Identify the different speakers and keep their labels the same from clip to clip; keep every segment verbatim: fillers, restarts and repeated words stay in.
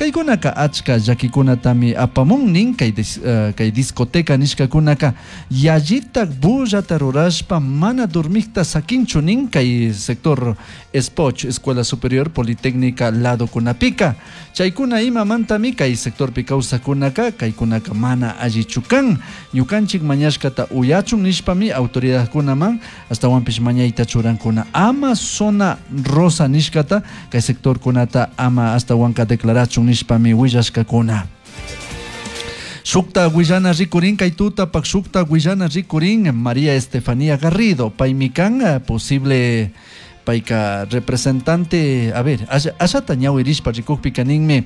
Speaker 1: Kaykunaka achka llakikunatami apamun nin kay, uh, kay discoteca nishkakunaka yallitak bullata rurashpa mana dormikta sakinchu nin kay sector Espoch, Escuela Superior Politécnica ladokunapika. Chaykuna imamantami kay sectorpi kawsakunaka kaykunaka mana allichu kan. Ñukanchik mañashkata uyachun nishpami autoridadkunaman astawanpish mañayta churankuna. Ama zona rosa nishkata kay sectorkunata ama astawanka declarachun nishpami willashkakuna. Shukta willana rikurin kay tutapak shukta willana rikurin María Estefanía Garrido paymi kan posible payka representante, a ver, ashata ñawirishpa rikukpika ninmi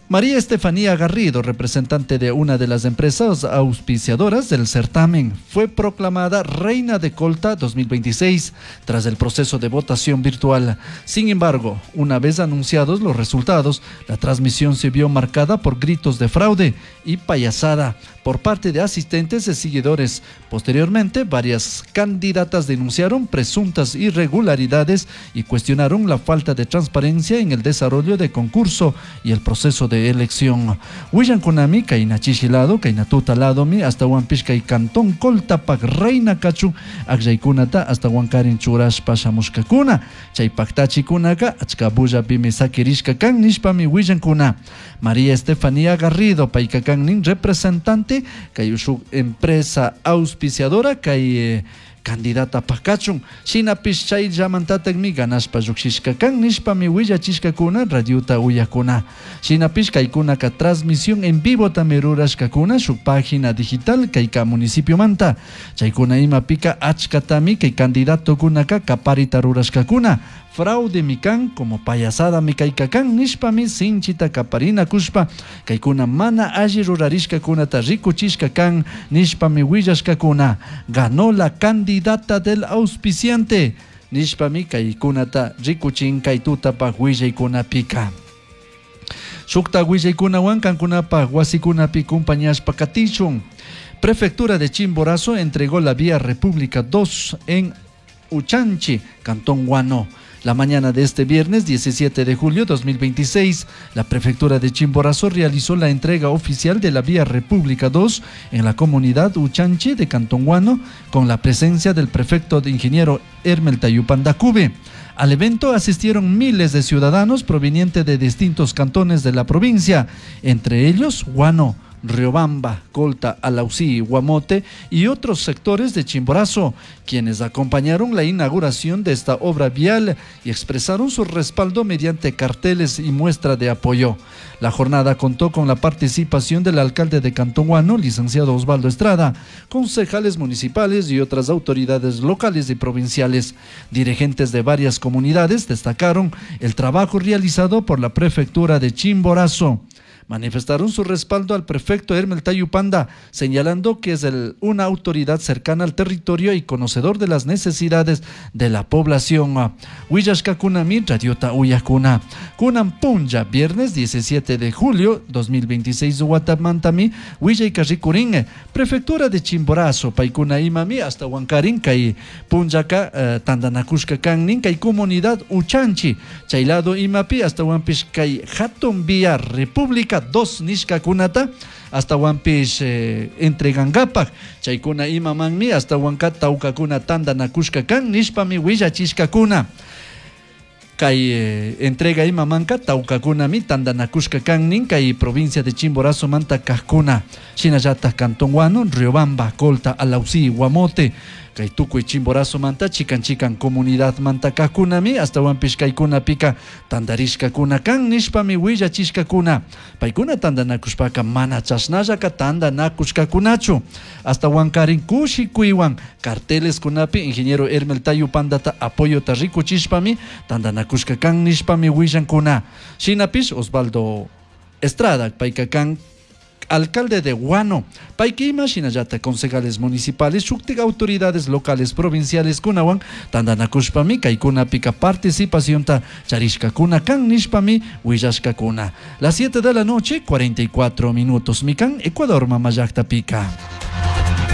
Speaker 1: María Estefanía Garrido, representante de una de las empresas auspiciadoras del certamen, fue proclamada Reina de Colta dos mil veintiséis tras el proceso de votación virtual. Sin embargo, una vez anunciados los resultados, la transmisión se vio marcada por gritos de fraude y payasada por parte de asistentes y seguidores. Posteriormente, varias candidatas denunciaron presuntas irregularidades y cuestionaron la falta de transparencia en el desarrollo del concurso y el proceso de elección. Willan kunami kayna chishi lado, kayna tuta ladomi, hasta Huanpish kay cantón Coltapac reina kachu akllaykunata hasta Huancarin churashpa shamushkakuna. Chay paktachikunaka achka bullapimi sakirishka kan nishpami willankuna. María Estefanía Garrido payka kannin representante kay shuk empresa auspiciadora kay eh, candidata pakachun shinapish chay llamantatakmi ganashpa llukshishka kan nishpami willachishkakuna radiota uyakuna. Shinapish kaykunaka transmisión en vivo tami rurashkakuna shuk página digital kayka municipiomanta. Chaykuna imapika achkatami kay candidatokunaka kaparita rurashkakuna. Fraude mi kan como payasada mi kayka kan nishpami sinchita kaparina kushpa kaykuna mana alli rurarishkakunata rikuchishka kan nishpami willashkakuna. Ganó la candidata del auspiciante nishpami kaykunata rikuchin kay tutapaj willaykunapika. Shukta willaykunawan kankunapaj wasikunapi kumpañashpa katishun. Prefectura de Chimborazo entregó la vía República dos en Uchanchi, Cantón Guano. La mañana de este viernes diecisiete de julio dos mil veintiséis, la Prefectura de Chimborazo realizó la entrega oficial de la Vía República dos en la comunidad Uchanchi de Cantón Guano, con la presencia del prefecto de ingeniero Hermel Tayupanda Cube. Al evento asistieron miles de ciudadanos provenientes de distintos cantones de la provincia, entre ellos Guano, Riobamba, Colta, Alausí, Guamote y otros sectores de Chimborazo, quienes acompañaron la inauguración de esta obra vial y expresaron su respaldo mediante carteles y muestra de apoyo. La jornada contó con la participación del alcalde de Cantón Guano, licenciado Osvaldo Estrada, concejales municipales y otras autoridades locales y provinciales. Dirigentes de varias comunidades destacaron el trabajo realizado por la prefectura de Chimborazo. Manifestaron su respaldo al prefecto Hermel Tayupanda, señalando que es el, una autoridad cercana al territorio y conocedor de las necesidades de la población. Willashkakunami, Radiota Uyakuna. Kunan Punja, viernes diecisiete de julio dos mil veintiséis, Guatamantami, Willaykarrikurin, Prefectura de Chimborazo, Paikuna Imami, hasta Huancarín, Kay Punjaka, eh, Tandanakushka Kannin, Kay Comunidad Uchanchi, Chaylado Imapi, hasta Huanpish, Kay Hatun Vía República dos nishkakunata hasta Huanpish eh, entregangapak chaykuna imamanmi hasta Huanca tawkakuna tandanakushka kan nishpami willachishkakuna. Kay eh, entrega imamanka tawkakunami tandanakushka kannin kay provincia de Chimborazo manta kajkuna shinallata Cantón Guano, Riobamba, Colta, Alausí, Guamote kay tukuy Chimborazo manta chikan chikan comunidad manta kajkunami hasta Huanpish kaykunapika tandarishkakuna kan nishpami willachishkakuna. Paykuna tandanakushpaka mana chashnallaka tandanakushkakunachu hasta Huancarin kushikuywan carteles kunapi ingeniero Hermel Tayupandata apoyota rikuchishpami tandanakushka kan nishpami willankuna. Shinapish Osvaldo Estrada payka kan alcalde de Guano, payquima shinallata concejales municipales, shuktik autoridades locales, provinciales kunawan tandanakushpami kaykunapika participacionta charishkakuna kan nishpami willashkakuna. Las siete de la noche, cuarenta y cuatro minutos, mikan Ecuador mamallakta pika.